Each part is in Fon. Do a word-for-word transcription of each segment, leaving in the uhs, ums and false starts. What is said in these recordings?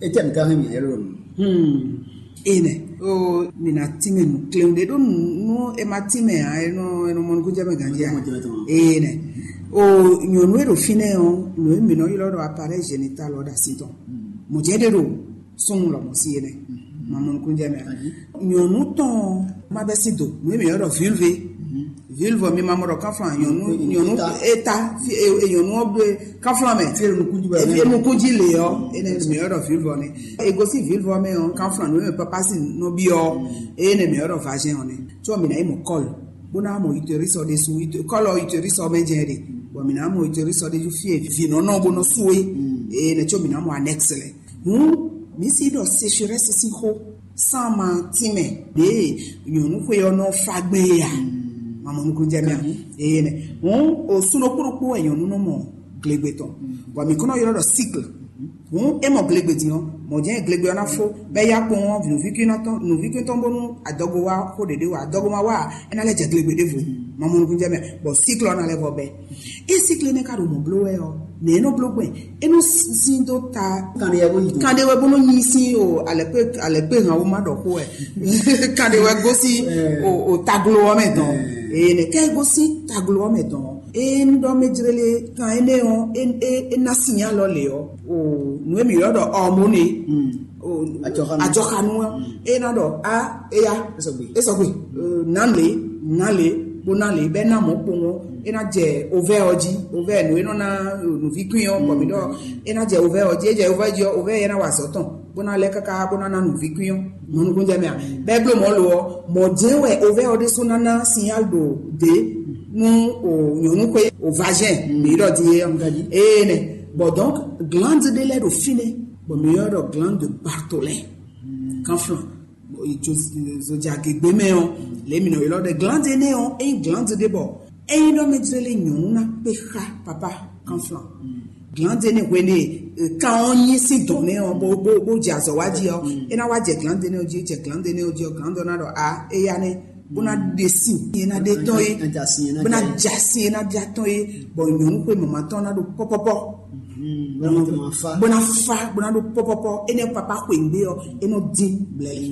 Etɛ mi ka hɛn mi yɛlɛ lɔ. Hmm. Ene. O, mi na tínmɛ nǔ kléwún ɖé ɖó nǔ, nú e ma tínmɛ ǎ, e nɔ, e nɔ mɔ nukúnjɛmɛ ganjí ǎ. Ene. O, nyɔ̌nu e ɖo fínɛ́ ɔ́, nǔ e mǐ nɔ ylɔ́ ɖɔ appareil génital ɔ́ ɖo asi tɔn. Mɔ̌ jɛ́n ɖé ɖo súnnu lɔmɔ̌ sí énɛ́. Ma mɔ nukúnjɛmɛ ǎ. Nyɔ̌nu tɔn ɔ́, ma bɛ́ sí do, nǔ e mǐ ylɔ́ ɖɔ vulve. Vulve ɔ́, mi ma mɔ ɖɔ kánflán, nyɔ̌nu, nyɔ̌nu eta, fi e, e nyɔ̌nu ɔ́ ɖe kánflán mɛ. Fi e nukún jí bɔ e fi e nukún jí le ɔ́, énɛ́ mǐ ylɔ́ ɖɔ vulve ɔ́ nɛ́. E gosín vulve ɔ́ mɛ ɔ́, kánflán nǔ e mɛ papa sín nɔ byɔ́ ɔ́, énɛ́ mǐ ylɔ́ ɖɔ vagin ɔ́ nɛ́. Tsɔ mǐ ná yi mɔ kɔ́l, bó ná mɔ utérus ɔ́ ɖésú, kɔ́l ɔ́ utérus ɔ́ mɛ jɛ́n ɖe, bɔ mǐ ná mɔ utérus ɔ́ ɖésú fí e vǐ nɔ nɔ bó nɔ sú é. Énɛ́ tsɔ mǐ ná mɔ anɛ́ks lɛ. Hǔn mǐ sí ɖɔ sécheresse sín xó, sán ma tínmɛ ɖěe nyɔ̌nu xwe ɔ́ nɔ fá gbé é a? Ma mɔ nukúnjɛmɛ ǎ. Énɛ́. Hǔn o súnnu kpóɖokpó wɛ nyɔ̌nu nɔ mɔ glegbe tɔn. Bɔ mǐ kɔn nɔ ylɔ́ ɖɔ cycle. Hǔn é mɔ glegbe din ɔ́, mɔ̌ jɛ́n glegbe ɔ́ ná fó, bɔ é yá kpɔ́n ɔ́, nǔvíkúnɔ tɔn, nǔvíkún tɔn bónú adɔgo wá xó ɖě ɖé wá, adɔgo ma wá ǎ, é ná lɛ́ jɛ glegbe ɖěvo. Ma mɔ nukúnjɛmɛ, bɔ cycle ɔ́ ná lɛ́ vɔ bɛ́. É cycle énɛ́ ka ɖo mɔ̌ bló wɛ ɔ́, nɛ̌ é nɔ bló gbɛn? É nɔ sín dó ta. Kanɖe wɛ bó nyi dó. Kanɖe wɛ bó nɔ nyi sín o, alɛkpé, alɛkpé han wó má ɖɔ xó wɛ. Kanɖe wɛ gosín o, o taglo ɔ́ mɛ dɔn. Ee, nɛ kɛ gosín taglo ɔ́ mɛ dɔn. Ee, un ɖɔ mɛ jlele kan énɛ́ ɔ́, é, é, é ná sin alɔ lě ɔ́, o nǔ e mǐ ylɔ́ ɖɔ hormone, o Ajɔxanu. Ajɔxanu ɔ́, é ná ɖɔ a, éya, é sɔgbe, é sɔgbe, nǎ lě, nǎ lě, bó ná lě, bɛ́ ná mɔ̌ kpowun ɔ́, é ná jɛ ovɛ́ ɔ́ jí, ovɛ́ nǔ e nɔ ná nǔvíkwín ɔ́, bɔ mǐ ɖɔ é ná jɛ ovɛ́ ɔ́ jí, é jɛ ovɛ́ jí ɔ́, ovɛ́ ɔ́ é ná wa azɔ̌ tɔn, bó ná lɛ́ káká bó ná ná nǔvíkwín ɔ́, mɔ̌ nukúnjɛ mɛ a? Bɛ́ bló mɔ̌ lo ɔ́, mɔ̌ jɛ́n wɛ ovɛ́ ɔ́ ɖésú ná ná sinyál ɖo dě nú o nyɔ̌nu xwé o vagin mǐ ɖɔ din é ɔ́. Ee nɛ. Bon, donc, glande ɖé lɛ́ɛ ɖo fínɛ́, bɔ mǐ ylɔ́ ɖɔ glande Bartholin. Kanflán. Zojagegbe mɛ ɔ́, lě mǐ nɔ ylɔ́ ɖɔ glande énɛ́ ɔ́, ényí glande ɖé bɔ ényí ɖɔ mɛ jlé lé nyɔ̌nu ná kpé xá papa kanflán. Glande énɛ́ hwenu e kan ɔ́ nyi sín dɔ̌n nɛ́ ɔ́, bó bó bó jɛ azɔ̌ wá jí ɔ́, é ná wá jɛ glande énɛ́ ɔ́ jí, é jɛ glande énɛ́ ɔ́ jí ɔ́, glande ɔ́ ná ɖɔ a, éya nɛ́, bó ná ɖe sin é ná ɖe tɔn é, bó ná ja sin é ná ja tɔn é, bɔ nyɔ̌nu xwe mama tɔn ná ɖo pɔ́pɔ́pɔ́. Bó ná fa, bó ná ɖo pɔ́pɔ́pɔ́, énɛ́ papa xweyǐgbe ɔ́, é nɔ dín blɛ̌lɛ̌.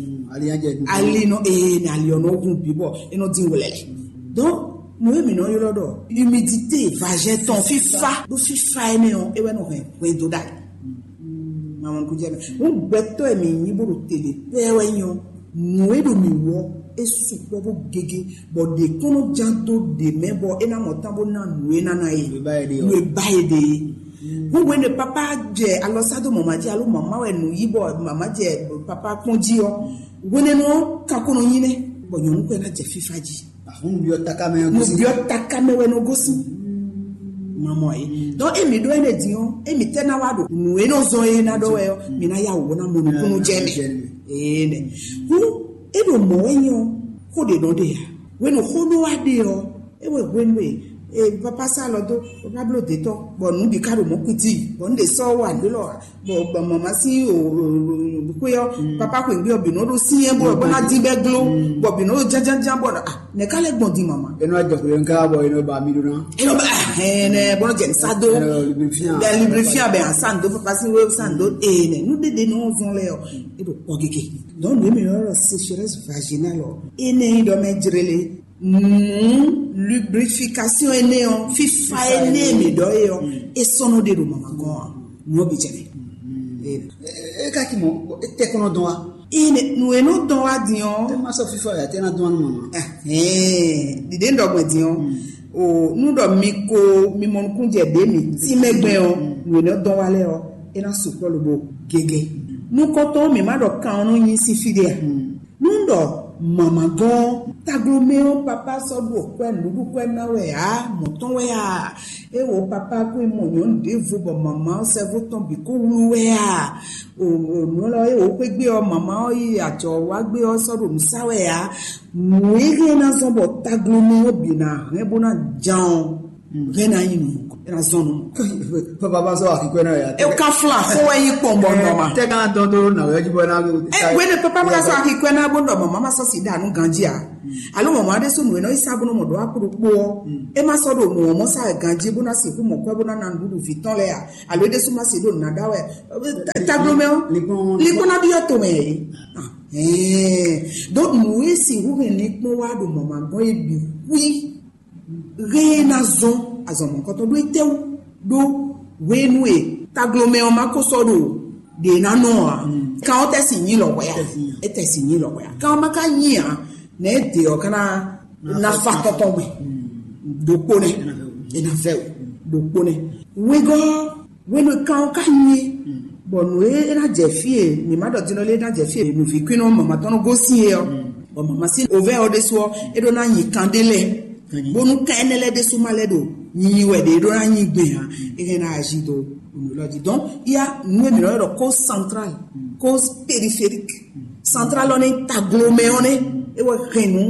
Ali nɔ eye ní ali ɔ́ nɔ hun bǐ bɔ é nɔ dín wlɛ̌lɛ̌. Donc, nǔ e mǐ nɔ ylɔ́ ɖɔ humidité vagin tɔn, fífá ɖó fífá énɛ́ ɔ́, é wɛ nɔ hɛn hwɛndo ɖ'ayǐ. Mamanukúnjɛ mɛ. Wọ́n gbɛtɔ́ e mǐ nyí bó ɖo te ɖě pɛ́ wɛ nyí ɔ́, nǔ e ɖo mǐ wú ɔ́, é sukpɔ́ bó gégé, bɔ ɖě kɔn nɔ ján dó ɖě mɛ bɔ é ná mɔ tán bó ná nǔ e ná ná é. Nǔ e ba é ɖe é. Hwéhwenu e papa jɛ alɔ sá dó mama jí alo mama wɛ nǔ yí bɔ mama jɛ papa kpɔ́n jí ɔ́, hwenɛ́nu ɔ́ ka kɔn nɔ nyí nɛ́, bɔ nyɔ̌nu kɔn ná jɛ fífá jí. Ahun byɔ́ taká mɛ. Nǔ byɔ́ taká mɛ wɛ nɔ gosín. Mamɔ é. Donc, émi ɖó énɛ́ din ɔ́, émi tɛ́ ná wá ɖo nǔ e nɔ zɔn é ná ɖɔ wɛ ɔ́, mi ná yá wǔ ná mɔ nukúnnú jɛ mɛ. Ee nɛ. Kú é ɖo mɔ̌ wɛ nyí ɔ́, xó ɖě nɔ ɖe ǎ. Hwenu xó nɔ wá ɖe ɔ́, é wɛ hwenu e e papa sá lɔ dó, papa bló dě tɔn, bɔ nǔ bǐ ká ɖo mɔ̌ kútí, bɔ nǔ ɖě sɔ́ wá nǔ lɔ, bɔ bɔ mama sín o xwé ɔ́, papa xwé gbé ɔ́ bǐ nɔ ɖó sín ɛ bɔ bɔ ná dín bɛ gló, bɔ bǐ nɔ ɖó jánjánján bɔ ah, nɛ ká lɛ gbɔn din mama. Enɔ jɔ kule nka bɔ enɔ ba mi ɖo na. Enɔ ba ɛnɛ bɔ jɛ nsa do. Ɛnɔ lubrifiant. Bɛ lubrifiant bɛ ansan do papa sín wé san do ene. Nu dede nɔ zɔn lɛ ɔ, e ɖo kpɔ gege. Donc nú mi yɔrɔ sécheresse vaginale ɔ, ene yi dɔ mɛ jrele. Nǔ lubrification énɛ́ ɔ́, fífá énɛ́ e mǐ ɖɔ é ɔ́, é sɔ́ nɔ ɖe ɖo mama gɔ́n ǎ. Nǔ ɔ́ bǐ jɛ mɛ. É ka ki mɔ, é tɛ kɔnɔ dɔn wa. Ine nǔ e nɔ dɔn wá din ɔ́. É ma sɔ́ fífá yà tɛ ná dɔn wá nú mama. Ɛhɛn, ɖiɖe un ɖɔ gbɔn din ɔ́. O nú ɖɔ mi ko mi mɔ nukún jɛ ɖě mi tí mɛ gbɛn ɔ́, nǔ e nɔ dɔn wá lɛ ɔ́, é ná sukpɔ́ lobo gégé. Nukɔntɔn mi má ɖɔ kan ɔ́ nɔ nyi sín fí ɖé a? Nú ɖɔ mama gɔ́n taglomɛ ɔ́ papa sɔ́ ɖu kwɛ́ nǔɖuɖu kwɛ́ ná wɛ ǎ, mɔ̌ tɔn wɛ a? É wo papa kú mɔ nyɔ̌nu ɖěvo bɔ mama ɔ́ sɛ́vú tɔn bǐ kó wlú wɛ a? O nǔ lɔ é wo xwé gbé ɔ́ mama ɔ́ yi ajɔ wá gbé ɔ́ sɔ́ ɖo nǔ sá wɛ ǎ. Nǔ e hɛn ná zɔ́n bɔ taglomɛ ɔ́ bǐ ná hɛn bó ná jan ɔ́, hɛn ná nyi nǔ nukɔn. É ná zɔn nú mɔ. Papa ma sɔ akikɔ na ya. E ka fla xo wɛ yi kpɔn bɔ nɔ ma. Tɛ ka dɔn do na wɛ jibɔ na. E wɛ ne papa ma sɔ akikɔ na bo dɔ mama ma sɔ si da nu ganji a. Alo mama de so nu e nɔ isa bo nɔ mɔ do akuru kpo. E ma sɔ do mɔ mɔ sa ganji bo na si ku mɔ kɔ bo na na nuɖuɖu vi tɔn lɛ a. Alo e de so ma si do na da wɛ. Taglo mɛ o. Likpɔn na bi yɔ to mɛ. Donc nu e si hu hɛn likpɔn wa do mama gɔn e bi hui. Hɛn ná zɔn azɔn mɔ̌kɔtɔn ɖó étɛ́wú ɖó hwenu e taglomɛ ɔ́ ma ko sɔ́ ɖo ɖě ná nɔ ǎ. Kan ɔ́ tɛ́ sin nyí lɔ̌hwɛ a? É tɛ́ sin nyí lɔ̌hwɛ a? Kan ɔ́ ma ka nyí ǎ, nɛ̌ é ɖe ɔ́ ka ná ná fa tɔ́tɔ́ gbe ɖokpó nɛ́. É ná vɛ́ wǔ ɖokpó nɛ́. Wegɔ́ hwenu e kan ɔ́ ka nyí é, bɔ nǔ e é ná jɛ fí e mǐ ma ɖɔ din ɔ́ lé ná jɛ fí e nǔví kwín ɔ́ mama tɔn nɔ gosín é ɔ́, bɔ mama sín ovɛ́ ɔ́ ɖésú ɔ́, é ɖó ná nyi kan ɖé lɛ́ɛ, bónú kan énɛ́ lɛ́ɛ ɖésú ma lɛ́ ɖo nyinyi wɛ ɖě é ɖó ná nyi gbɛn ǎ. É hɛn ná azi dó nǔ lɔ jí. Donc ya nǔ e mǐ nɔ ylɔ́ ɖɔ cause centrale, cause périphérique. Central ɔ́ nɛ́ taglomɛ ɔ́ nɛ́ é wɛ hɛn nǔ.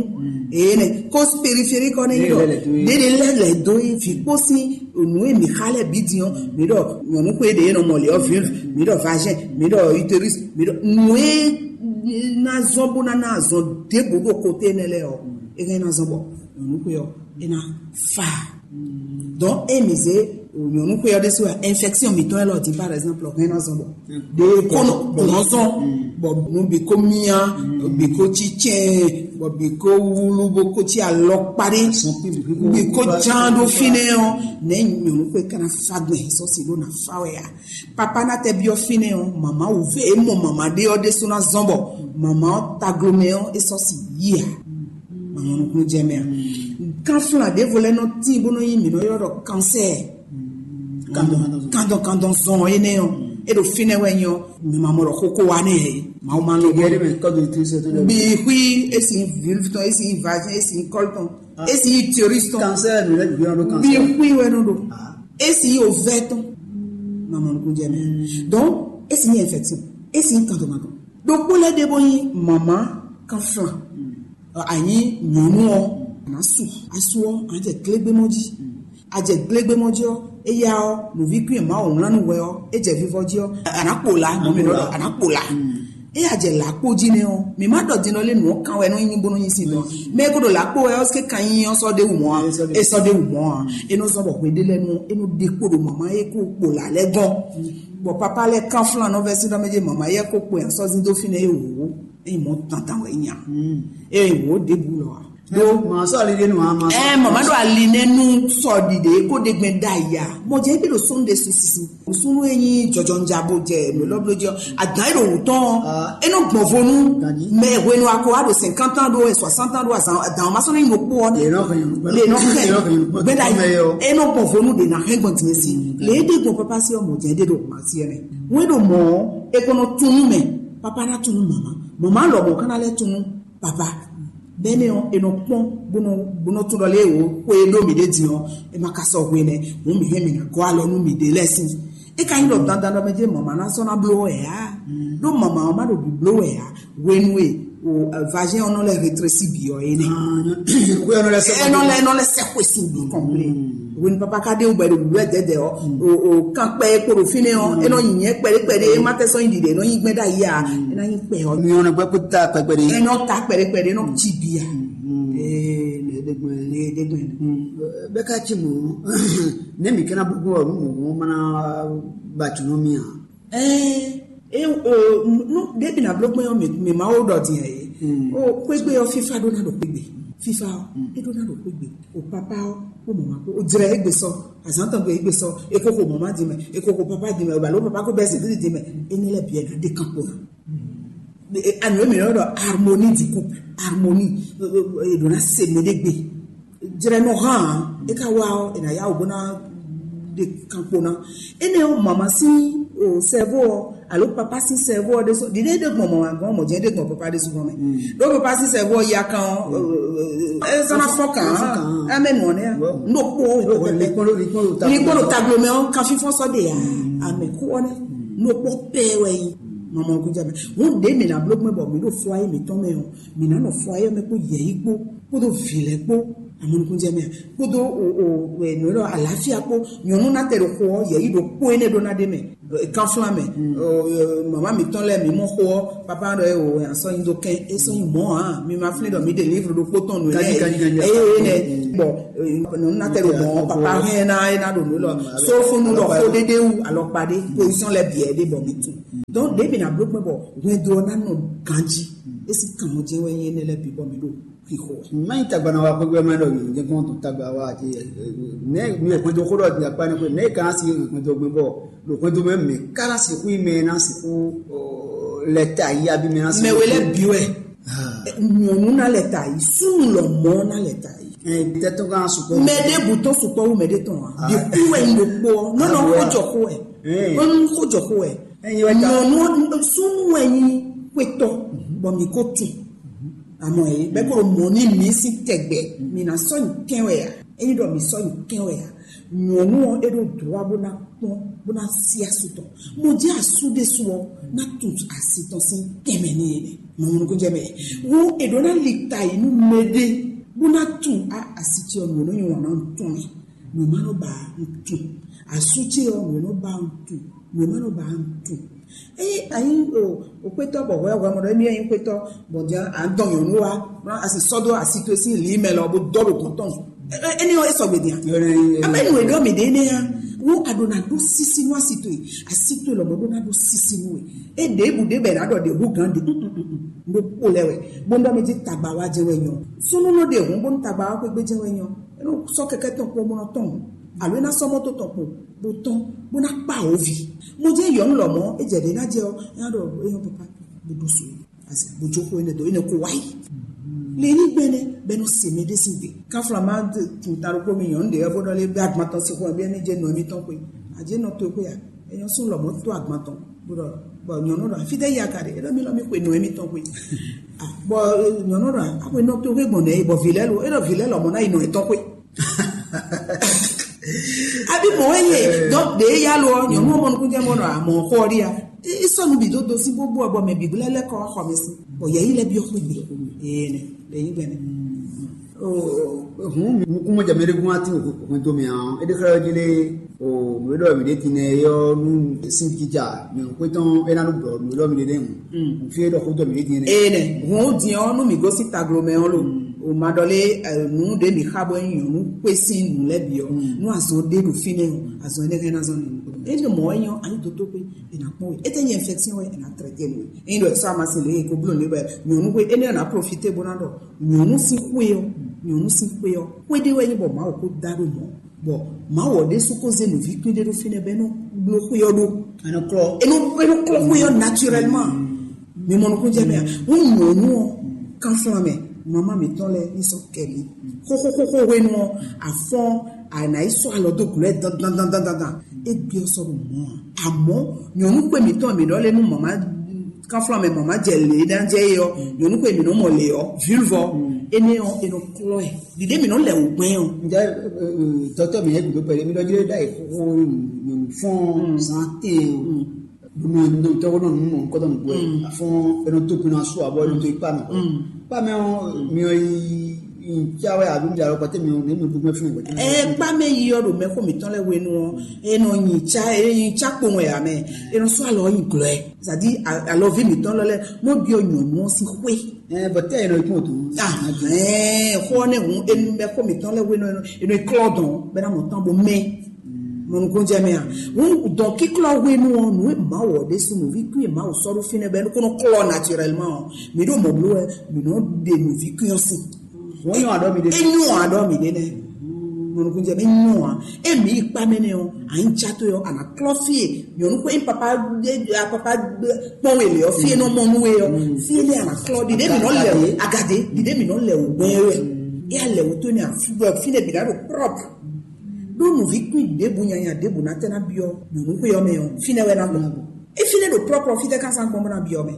Ee nɛ cause périphérique ɔ́ nɛ́ ɖɔ ɖéɖé lɛ́ lɛ̌ dó yi vǐ kpó sín nǔ e mǐ xa lɛ́ bǐ din ɔ́, mǐ ɖɔ nyɔ̌nu xwé ɖě nɔ mɔ lě ɔ́, vulve, mǐ ɖɔ vagin, mǐ ɖɔ utérus, mǐ ɖɔ nǔ e ná zɔ́n bó ná ná azɔn ɖěbǔ ɖo koté énɛ́ lɛ́ɛ ɔ́, é hɛn ná zɔ́n bɔ nyɔ̌nu xwé ɔ́ é ná fa. Donc e mǐ zé nyɔ̌nu xwé ɔ́ ɖésú wɛ infection mǐtɔn élɔ́ din par exemple hɛn ná zɔn bɔ ɖe kó nɔ zɔn bɔ nú bǐ kó mía bǐ kó cícɛn bɔ bǐ kó wúlú bó kó cí alɔ kpaɖé bǐ kó ján ɖó fínɛ́ ɔ́ nɛ̌ nyɔ̌nu xwé ká ná fa gbɛn sɔ́ si ɖó ná fa wɛ a. Papa ná tɛ byɔ́ fínɛ́ ɔ́ mama wǔ vɛ é mɔ mama ɖé ɔ́ ɖésú ná zɔn bɔ mama ɔ́ taglomɛ ɔ́ é sɔ́ si yí a. Mama nukúnnú jɛ mɛ a. Kanflan ɖěvo lɛ́ɛ nɔ tín bó nɔ nyí mǐ nɔ ylɔ́ ɖɔ kansɛɛ. Kandɔn kandɔn zɔn énɛ́ ɔ́ é ɖo fínɛ́ wɛ nyí ɔ́ mǐ ma mɔ ɖɔ xókó wa nɛ hɛ. Mawu ma lɔ bɔ. Bi xwí esi vilif tɔn esi vagin esi kɔl tɔn esi tioris tɔn. Kansɛɛ mi lɛ bi ɔn ɖo kansɛɛ. Bi xwí wɛ nɔ ɖo esi ovɛ tɔn. Mama nukúnnú jɛ mɛ. Donc esi infection esi kandɔn kandɔn. Ɖokpó lɛ́ɛ ɖe bó nyí mama kanflan. Anyi nyɔ̌nu ɔ́, a nǎ su. A su ɔ́, a jɛ glégbémɔ jí. A jɛ glégbémɔ jí ɔ́, éyá ɔ́, nǔví kwín e Mawu wlán nú hwɛ ɔ́, é jɛ vivɔ jí ɔ́, a nǎ kpo la, mɔ̌ mǐ nɔ ɖɔ a nǎ kpo la. É a jɛ lǎ kpo jí nɛ́ ɔ́, mǐ má ɖɔ din ɔ́ lé nǔ ɔ́ kan wɛ nɔ nyí bónú nyí sin nɔ. Mɛ e ko ɖo lǎ kpo wɛ ɔ́, é kan nyí ɔ́ sɔ́ ɖé wǔ mɔ̌ a? É sɔ́ ɖé wǔ mɔ̌ a? É nɔ zɔ́n bɔ hwe ɖé lɛ́ɛ nu é nɔ ɖe kpo ɖo mama e ko kpo la lɛ́ɛ gɔ́n. Bɔ papa lɛ́ɛ kánflán nɔ vɛ́ sín ɖɔ mɛ jí mama yɛ ko kpo yɛn sɔ́ zín dó fínɛ́ é wǔ. Ényí mɔ̌ tantan wɛ é nya. Ényí wǒ ɖěbǔ lɔ a? Ɖó màá sɔ́ ali ɖé nù a ma. Ɛ mama ɖo ali nɛ nu sɔ ɖiɖe kó ɖe gbɛn da ya. Mɔ jɛ bi ɖo sɔn ɖe susu. Sunu e nyi jɔjɔnja bo jɛ mɛ lɔ blo jɔ. Adan e ɖo wutɔn. E nɔ gbɔn vonu. Mɛ hwenu ako a ɖo cinquante ans ɖo soixante ans ɖo azan adan ma sɔn ne nɔ kpɔ ne. Le nɔ kɛ gbɛda yi. E nɔ gbɔn vonu de na hɛn gbɔn tiɲɛ si. Le e de gbɔn papa si ɔmɔ jɛ de ɖo ma si ɛnɛ. Wɛn ɖo mɔ e kɔnɔ tunu mɛ. Papa na tunu mama. Mama lɔ mɔ kana lɛ tunu. Papa bɛnɛ ɔ e nɔ kpɔn bonɔ bonɔ tun dɔ le wo ko e ɖo mi ɖe din ɔ e ma ka sɔ hwe nɛ mo mi hɛn mi na gɔ alɔ nu mi ɖe lɛ si. E ka nyi ɖɔ dandan ɖɔ mɛ jɛ mama na sɔ na blo wɛ ya. Ɖo mama ɔ ma ɖo bi blo wɛ ya. Hwenu e o vagin ɔ nɔ lɛ rétréci bi ɔ ene. Hwe ɔ nɔ lɛ sɛ. Ɛ nɔ lɛ nɔ lɛ sɛ xwe si bi kɔnple. Hwenu papa ka ɖe wɛ ɖo wɛ dɛdɛ ɔ o o kan kpɛ e kpo ɖo fine ɔ e nɔ nyi nyɛ kpɛɖe kpɛɖe e ma tɛ sɔ nyi ɖiɖe e nɔ nyi gbɛ ɖe ayi a e na nyi kpɛ ɔ. Mi ɔnɔ gbɛ kó ta kpɛkpɛ de. E nɔ ta kpɛɖe kpɛɖe e nɔ tsi bi a. Ee ne ɖe gbɛ ne ɖe gbɛ. Bɛ ka tsi mɔ ne mi kana gbogbo ɔ nu mɔ mɔ mana ba tunu mi a. Ɛɛ e o nu ɖebi na bló gbé ɔ mi mi ma wo ɖɔ diɛ ye. O kpégbé ɔ fífa ɖó na ɖo kpégbé fífa ɔ e ɖó na ɖo kpégbé. O papa ɔ kó mama kó o dzrɛ egbe sɔ azan tɔn gbe egbe sɔ e koko mama di mɛ e koko papa di mɛ o balo papa ko bɛ zedili di mɛ. Ene lɛ biɛ na de kan kpo na. Anu emi yɔ dɔ harmonie du couple harmonie. E ɖo na se mɛ de gbe. Dzrɛ nɔ hã e ka wa ɔ e na ya o bo na de kan kpo na. Ene o mama si o sɛvo ɔ alo papa si sɛvo ɔ de so dide de gbɔn mama gbɔn mɔ jɛ de gbɔn papa de so gbɔn mɛ. Do papa si sɛvo ɔ ya kan ɔ e zana fɔ kan ame nɔ ne. N'o kpɔ o ni kpɔ lo taglo mɛ ɔ kan fifɔ sɔ de ya ame ku ɔ ne n'o kpɔ pɛ wɛ yi. Mama ɔ kun jɛ mɛ ŋun de mi na blo gbɛ bɔ mi do fɔ ayi mi tɔn mɛ ɔ mi na nɔ fɔ ayi mɛ kpo yɛ yi kpo kpo do vi lɛ kpo. Amɔnukúnjɛ mɛ kpódó nǔ ɖɔ àlàáfíà kpó. Nyɔ̌nu ná tɛ ɖo xo ɔ́, yɛ̌yi ɖo kpó énɛ́ ɖó ná ɖé mɛ, kanflán mɛ. Mama mǐtɔn lɛ́ɛ mǐ mɔ xo ɔ́, papa ɖɔ é o asɔ nyi dó kɛn é sɔ nyi mɔ̌ ǎ. Mi ma flín ɖɔ mǐ ɖe livre ɖokpó tɔn nǔ lɛ́ɛ. Eye énɛ́ bɔ nyɔ̌nu ná tɛ ɖo mɔ̌, papa hɛn ná é ná ɖo nǔ lɔ. Sófúnú ɖɔ xó ɖéɖé wú alɔkpa ɖé, position lɛ́ɛ bǐ ɛ ɖé bɔ mǐ tunwun. Donc ɖěbǐ ná bló kpɛ́n bɔ hwɛndo ɔ́ ná nɔ ganjí. É sín kanmɔ jɛ́n wɛ nyí énɛ́ lɛ́ɛ bǐ bɔ mǐ ɖo xixo wɛ. Má nyí tagba ná wá xwé gbé má ɖɔ yě jɛ́n kɔn tó tagba wá ati nɛ mi hwɛndo xó ɖɔ di akpa ne xwé nɛ ka si hwɛndo gbé bɔ ɖo hwɛndo mɛ mɛ kára sixú yi mɛ ná sixú lɛ ta yi abi mɛ ná sixú. Mɛ wɛ lɛ bi wɛ. Nyɔnu ná lɛ ta yi, súnnu lɔ mɔ ná lɛ ta yi. Tɛtɔ kan sukpɔ. Mɛ ɖé butɔ sukpɔ wu mɛ ɖé tɔn wa. Di kú wɛ nyi ɖo kpɔ. Nɔnɔ kó jɔ kó wɛ. Nɔnɔ kó jɔ kó wɛ. Nyɔnu súnnu wɛ nyi kwetɔ bɔ mi kó tu. Àmọ́ yìí bẹ́ẹ̀ kó mọ̀ ní mi sí tẹ̀gbẹ́ mi ná sɔ́ nyi kɛn wɛ ya. Ényí ɖɔ mi sɔ́ nyi kɛn wɛ ya. Nyɔnu ɔ́ é ɖo dlɔ́ bó ná kpɔ́n bó ná sí asú tɔn. Mo jẹ́ asú ɖésú ɔ́ ná tu asi tɔn sín kɛmɛ ní yé mɛ. Mɔmɔnukúnjɛ mɛ wo è ɖó ná li ta yi nú mɛɖé bó ná tu asi tí ɔ́ nǔ é nɔ nyi wɔn ná tún mɛ. Nǔ má nɔ ba ń tún asú tí ɔ́ nǔ é nɔ ba ń tún nǔ é má nɔ ba ń tún. Eye anyi o kwetɔ bɔ hwɛ hwɛ mɔ ɖɔ emi anyi kwetɔ bɔ dia an dɔn nyɔnu wa bla asi sɔdo asi to si li mɛ lɔ bo dɔ ɖo gɔntɔn. Eni o esɔgbe dia. Ame nu eɖɔ mi ɖe ne ya wo aɖo na ɖo sisi nu asi to yi asi to lɔ bɔ ɖo na ɖo sisi nu e e ɖe bu ɖe bɛ na ɖɔ ɖe hu gan ɖe. Ɖo kpo lɛ wɛ bo ɖɔ mi di tagba wa jɛ wɛ nyɔ sunu nɔ ɖe hun bo tagba wa kpegbe jɛ wɛ nyɔ. Eno sɔ kɛkɛ tɔn kpo mo nɔ tɔn alo ena sɔ mɔto tɔn kpo bo tɔn bo na kpa wo vi. Mo jɛ yɔ nu lɔ mɔ e jɛ ɖe na jɛ o ena ɖɔ eyan papa bo ɖo so. Asi gbójókòó énɛ́ dó énɛ́ kó wáyé. Lě ní gbɛ́nɛ́ bɛ́ nɔ se mɛ ɖé sín gbe. Káfla má tún ta ɖokpó mi nyɔ̌nu ɖě wɛ bó ɖɔ lé bɛ́ agban tɔn sín xó ɛ bɛ́ ní jɛ nɔ émítɔn xwé. Àjẹ́ nɔ tó xwé a? Èèyàn sún lɔmɔ̌ tó agban tɔn bó ɖɔ bɔ nyɔ̌nu ɖɔ fí ɖé ya ka ɖe é ɖɔ mi lɔ mi xwe nɔ émítɔn xwé. Bɔ nyɔ̌nu ɖɔ axwe nɔ tó xwé gbɔn nɛ bɔ vǐ lɛ́ lo é ɖɔ vǐ lɛ́ lɔmɔ̌ ná yi nɔ étɔn xwé. Abi mɔ wɛ ye dɔn ɖe ya lo nyɔnu mɔ nukun jɛ mɔ nɔ amɔ xɔ ri ya. Isɔnu bi do do si bó bó bɔ mɛ bi gblɛ lɛ kɔ xɔ mi si bɔ yɛ yi lɛ bi xɔ mi. Ee ne le yi gbɛ ne. Hun nukun mɔ jɛ mɛ ɖe gun ati o kun to mi an e de xlɛ ji le o nu e dɔ mi de ti ne yɔ nu sin kija nyɔnu ko tɔn e na nu bɔ nu e dɔ mi de ne hun. Fi e dɔ ko dɔ mi de ti ne. Ee ne hun o diɛ ɔ nu mi gosi taglo mɛ ɔ lo. O ma ɖɔ lé nu ɖe mi xa bɔ nyɔnu xwé sín nǔ lɛ́ɛ bǐ ɔ́ nú azɔn ɖé ɖo fínɛ́ ɔ́ azɔn énɛ́ hɛn ná zɔn nínú. É ɖo mɔ̌ wɛ nyɔ́ anyi dótó xwé è nǎ kpɔ́n we é tɛ́ nyɛ infection wɛ è nǎ traité nú we. Ényí ɖɔ sɔ́ amasi lě e ko bló lě wɛ nyɔ̌nu xwé énɛ́ ɔ́ nǎ profité bó ná ɖɔ nyɔ̌nu sín xwé ɔ́ nyɔ̌nu sín xwé ɔ́ xwé ɖé wɛ nyí bɔ Mawu ko dá ɖó mɔ̌ bɔ Mawu ɔ́ ɖésú ko zé nǔví kpín ɖé ɖó fínɛ́ bɔ é nɔ bló xwé ɔ́ ɖó. É nɔ klɔ́ é nɔ é nɔ klɔ́ xwé ɔ́ naturellement. Mi mɔ nukúnjɛ mɛ a? Ŋu nyɔ̌nu ɔ́ kanflan mɛ mama mǐtɔn lɛ́ɛ ní sɔ́ kɛ mǐ. Xóxóxóxó hwenu ɔ́ afɔ́n àná yi sɔ́ alɔ dó gǔlɔ ɛ dandandandandan. É gbé ɔ́ sɔ́ ɖo mɔ̌ ǎ. Àmọ́ nyɔ̌nu xwé mǐtɔn mǐ ɖɔ lé nú mama kanflan mɛ mama jɛ lě ná jɛ é ɔ́ nyɔ̌nu xwé mǐ nɔ mɔ lě ɔ́ vǐlvɔ énɛ́ ɔ́ è nɔ klɔ́ ɛ. Ɖiɖe mǐ nɔ lɛ wǔ gbɛn ɔ́. Ǹjẹ́ dɔtɔ mi yɛ gùdó pẹ̀lú mi lọ́jọ́ dá ìkókó fún santé o. Nínú tɔwọ́ náà nínú nǹkan tó ń gbọ́ ẹ̀ fún ẹnu tó pinnu aṣọ àbọ̀ ẹnu tó ipá mi. Ipá mi ọ̀ mi ọ̀ yí ìjáwé àbí mi àrò pàtẹ́ mi ọ̀ nínú gbogbo ẹ̀ fún ìgbà tí wọ́n. Ẹ kpá mẹ yi ọdún mẹ kó mi tán lẹ wẹnu ọ ẹnu yìnyín tsá kpowun ẹ̀ àmẹ ẹnu sọ àlọ́ yìí glọ́ ẹ̀ zàdí àlọ́ vi mi tán lọ lẹ mọ́ bí ọ nyọ̀nù ọ sí xwé. Ẹ bọ̀tẹ́ ẹ̀ lọ ikú òtún. Xó ọ́ nẹ̀ hùn ẹnu mẹ kó mi tán lẹ wẹnu ẹnu ìklọ́ dùn bẹ́ẹ̀ náà mọ̀ tán bó mẹ́. Mɔnukúnjɛ mɛ a ŋu dɔn kíklɔ hwenu ɔ nù má wɔ ɖe sunu vi kú ma wò sɔɖu fi nɛ bɛ nukunu klɔ naturellement ɔ mi ɖo mɔ blo wɛ mi nɔ ɖe nu vi kú yɔ si. Wọ́n yàn àdọ́ mi dé. Enyo àdọ́ mi dé nɛ. Mɔnukúnjɛ mɛ enyo a emi kpa mɛ nɛ ɔ anyi tsa to yɔ ana klɔ fie nyɔnu kpe papa papa kpɔn wele ɔ fie nɔ mɔnu we ɔ fie ne ana klɔ ɖiɖe mi nɔ lɛ o agade ɖiɖe mi nɔ lɛ o gbɛ wɛ. Eya lɛ o to ne afi bɔ fi ne bi na ɖo propre. Ɖó nǔví kpín ɖěbǔ nyanya ɖěbǔ ná tɛ́ ná byɔ́ nyɔ̌nu xwé ɔ́ mɛ ɔ́, fínɛ́ wɛ ná gbɔn. É fínɛ́ ɖo plɔ́plɔ́ fítɛ́ ká sán gbɔn bó ná byɔ́ mɛ.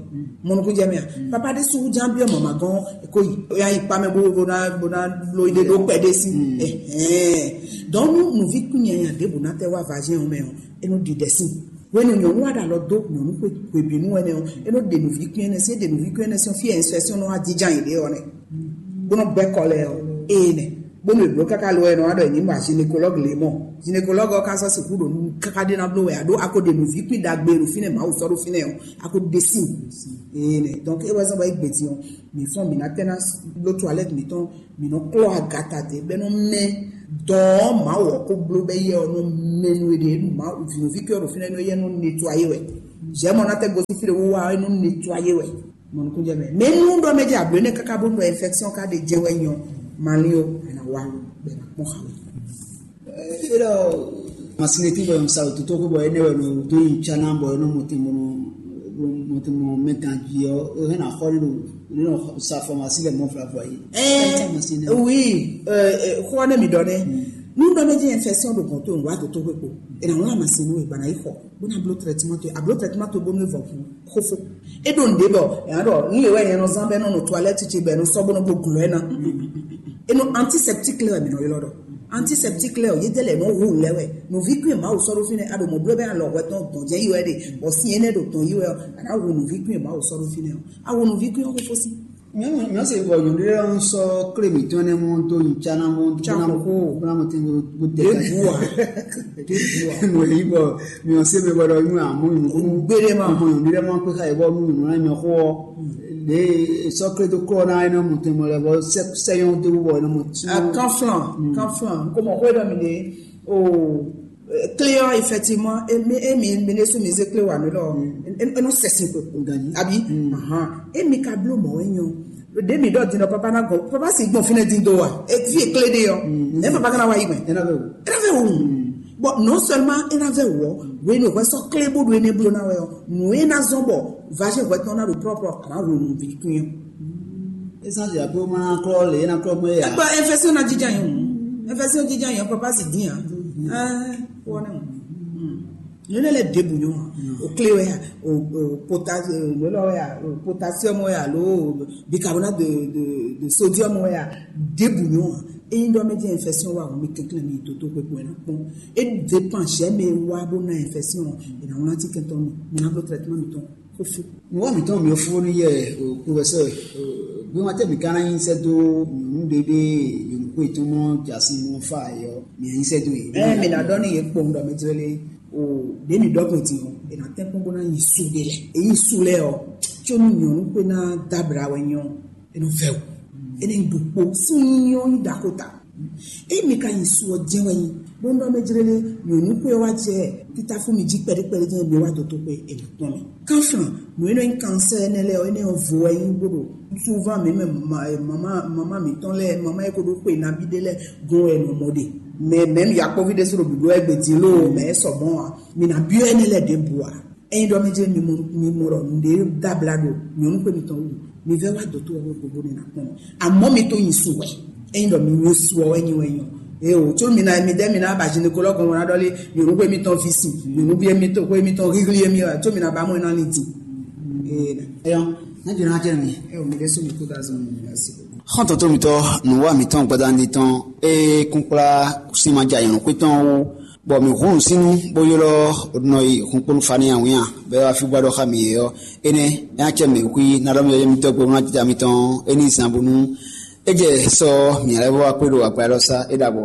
Mɔnukúnjɛ mɛ a? Papa ɖé sú ján byɔ́ mama gɔ́n kó yi. Ó yá yi kpá mɛ bó bó ná bó ná bló yi ɖé ɖó kpɛ ɖé sí. Ɛhɛn. Donc nú nǔví kpín nyanya ɖěbǔ ná tɛ́ wá vazɛ́n ɔ́ mɛ ɔ́, é nɔ ɖi ɖɛ sí. Hwenu nyɔ̌nu wa ɖo alɔ dó nyɔ̌nu xwe hwebǐnu ɛnɛ ɔ́, é nɔ ɖe nǔví kpín ɛnɛ sí, é ɖe nǔví kpín ɛnɛ sí ɔ́, fí ɛnfɛsɔn nɔ wá jínjɔ́n yěɖée ɔ́ nɛ. Bó nɔ gbɛ́ kɔ lɛ́ɛ ɔ́, éé nɛ. Bónú è blǒ káká lo wɛ è nɔ wá ɖɔ è ní mɔ gynécologue lě mɔ. Gynécologue ɔ́ ka sɔ́ sixú ɖo nǔ káká ɖé ná bló wɛ, aɖó a ko ɖe nǔví kpín ɖagbe ɖo fínɛ́ Mawu sɔ́ ɖo fínɛ́ ɔ́, a ko ɖe sín. Ee nɛ, donc é wɛ zɔ́n bɔ é gbe din ɔ́, mǐ fɔ́n mǐ ná tɛ́ ná bló toilette mǐtɔn, mǐ nɔ klɔ́ agata dě bɔ é nɔ mɛ dɔn ɔ́ Mawu ɔ́ ko bló bɔ éyɛ́ ɔ́ nɔ mɛ nú e ɖe é ɖu Mawu vǐnúví kí ɔ́ ɖo fínɛ́ nú éyɛ́ nɔ nettoyé wɛ. Zɛ̌ mɔ ná tɛ́ gosín fí ɖé wú wá ɔ́, é nɔ nettoyé wɛ. Mɔnukúnjɛ mɛ. Mɛ nú ɖɔ mɛ jɛ ablo ne kaka bó nɔ infection ka ɖe jɛ wɛ nyɔ. Mali o, ana wa bɛ na kpɔn xa wɛ. Elo, masine ti bɔ sa to to ko bɔ ene wɛ no do yi chana bɔ no mo ti mo mo ti mo metan ji o, o hena xɔ ni do ni no sa formation le mo fra foi. Eh, oui, euh, euh, quoi ne mi donne. Nous donne des infections de contrôle, on va de tout repos. Et on a masine, et ben, il faut. Bó ná bló traitement towe, abló traitement towe bónú é vɔ kú xófó. É ɖo nǔɖé bɔ è nǎ ɖɔ nú yě wɛ nyɛ nɔ zán bɔ é nɔ nɔ toilette ce bɔ è nɔ sɔ́ bó nɔ gbo glɔ́ ɛ ná. É nɔ antiseptique lɛ́ɛ wɛ mǐ nɔ ylɔ́ ɖɔ. Antiseptique lɛ́ɛ ɔ́, yédɛ́ lɛ́ɛ nɔ hu lɛ́ɛ wɛ. Nǔví kún e Mawu sɔ́ ɖó fínɛ́, a ɖo mɔ̌ bló bɛ́ alɔ hwɛ tɔn dɔn jɛ yi wɛ ɖe, bɔ sin énɛ́ ɖo tɔn yi wɛ ɔ́, a nǎ hu nǔví kún e Mawu sɔ́ ɖó fínɛ́ ɔ́. A hu nǔví kún ɔ́ xófó sí. Nyɔnu nyɔ se bɔ nyɔnu ɖe lɔ sɔ kle mi tɔn ne mɔ to nyi tsana mɔ Tsa koko. Bla mo ti bo de Ɖe ka bu a? Ɖe bu a? Mo yi bɔ mi ɔ se mi bɔ dɔ nyɔ amu nyɔ ko Gbede ma. Mo nyɔ ɖe mɔ pe ka yi bɔ mu nyɔ na nyɔ ko. De sɔ kle to kɔ na eno mo te mo le bɔ se se yɔn de bɔ eno mo ti. Ah, kan flan, kan flan. Ko mɔ ko dɔ mi de. Oh, clé ɔ́, effectivement, emi emi mi ne su mi zé clé wa mi lɔ. Eno sɛsin ko. Gani. Abi. Ahan. Emi ka blo mɔ enyɔ. Ɖe mi ɖɔ din ɔ papa na gɔn papa si gbɔn fínɛ́ din do wa. Evi ekle ɖe ɔ. Ɛ papa kana wa yi mɛ. Ena vɛ o. Ena vɛ o. Bon, non seulement ena vɛ o, we no hwɛ sɔ kle bo do ene blo na wɛ ɔ. Nu ena zɔn bɔ vache hwɛ tɔn na do propre ana wo nu vi kun. Esan ya ko ma klɔ le ena klɔ mo ya. Ba infection na jija yo. Infection jija yo papa si din a. Ah, wona. Nunɔ lɛ ɖěbǔ nyɔ́ ǎ. O clé wɛ ya, o o pota nunɔ wɛ ya, o potassium wɛ ya alo bicarbonate de de de sodium wɛ ya, ɖěbǔ nyɔ́ ǎ. Ényí ɖɔ mɛ jẹ́ infection wa mi kɛnklɛn mi toto kpekpe na kpɔn. E dépend jɛ mɛ wa bó na infection. E na wlán ti kɛntɔn mi, mi na bló traitement mi tɔn. Fúfú. Nǔwɔ mǐtɔn mǐ fú ní yɛ professeur. Bí wọ́n tẹ́ mǐ ká ná nyi sɛ́ dó nyɔ̌nu ɖé ɖé nyɔ̌nu kó yětɔn mɔ jǎsin mɔ fá yɔ mǐ nyi sɛ́ dó yě. Ɛ mi na ɖɔ ni yě kpɔn ɖɔ mi tlɛ lé o ɖe mi ɖɔ ko ti o e na tɛ kpɔn bó na nyi su ɖe lɛ e nyi su lɛ ɔ tso nu nyɔ̌nu kó na dabra wɛ nyɔ e nɔ fɛ o e nɔ ɖu kpo si nyɔ nyi da ko ta. Emi ka nyi su ɔ́ jɛ́n wɛ nyi, bó nɔ mɛ jlé lé nyɔ̌nu xwé ɔ́ wá jɛ títáfú mi jí kpɛɖékpɛɖé jɛ́n mi wá dǒtó xwé è nǎ kpɔ́n mi. Kánflán, nǔ e nɔ nyí kansɛ́ énɛ́ lɛ́ɛ ɔ́, énɛ́ ɔ́ vo wɛ nyí bó ɖo súván mǐ mɛ mama mama mǐtɔn lɛ́ɛ mama e ko ɖó xwe nabí ɖé lɛ́ɛ gɔ́n wɛ è nɔ mɔ ɖe. Mɛ mɛ̌m yakpɔ́ví ɖésú ɖo bǐbló wɛ gbě dín lóo mɛ é sɔ mɔ̌ ǎ. Mi ná byɔ́ énɛ́ lɛ́ɛ ɖěbǔ ǎ. Ényí ɖɔ mɛ jɛ́n mi mɔ mi mɔ ɖɔ nǔɖé dabla ɖo nyɔ̌nu xwe mitɔn wú, mi vɛ́ wá dǒtó ɔ́ wú gbogbo ní ná kpɔ́n mi. Amɔ̌ mi tó nyi su wɛ. Ényí ɖɔ mi nyi su ɔ́ wɛ nyi wɛ nyɔ. Eye o, tso mi na mi ɖe mi na ba gynécologue ɔ́ na ɖɔ lé nyɔ̌nu xwe mitɔn vi si, nyɔ̌nu bi mitɔn xwe mitɔn híhlí mi wɛ, tso mi na ba mɔ ná ni di. Ee, Eyɔn, ne jɔ na jɛ mi. Eye o, mi ɖe so mi kú da zɔn mi asi. Xɔntɔn tó mitɔ nùwá mitɔn gbadandi tɔn e kún kplá sinma jɛ anyɔ̌nu xwe tɔn wú. Bɔ mǐ hun nǔsínnú bó ylɔ́ nɔ yi hunkpónú Fani awǐnnya bɔ é wá fí gbá ɖɔ xá mǐ é ɔ́, énɛ́ é ná cɛ mǐ xwí ná ɖɔ mì ɔ́ mitɔ́ gbe ná jija mitɔn é ní zan bónú é jɛ sɔ mǐ lɛ́ vɔ wá kpé ɖo agbadɔ sá é ɖo abɔ.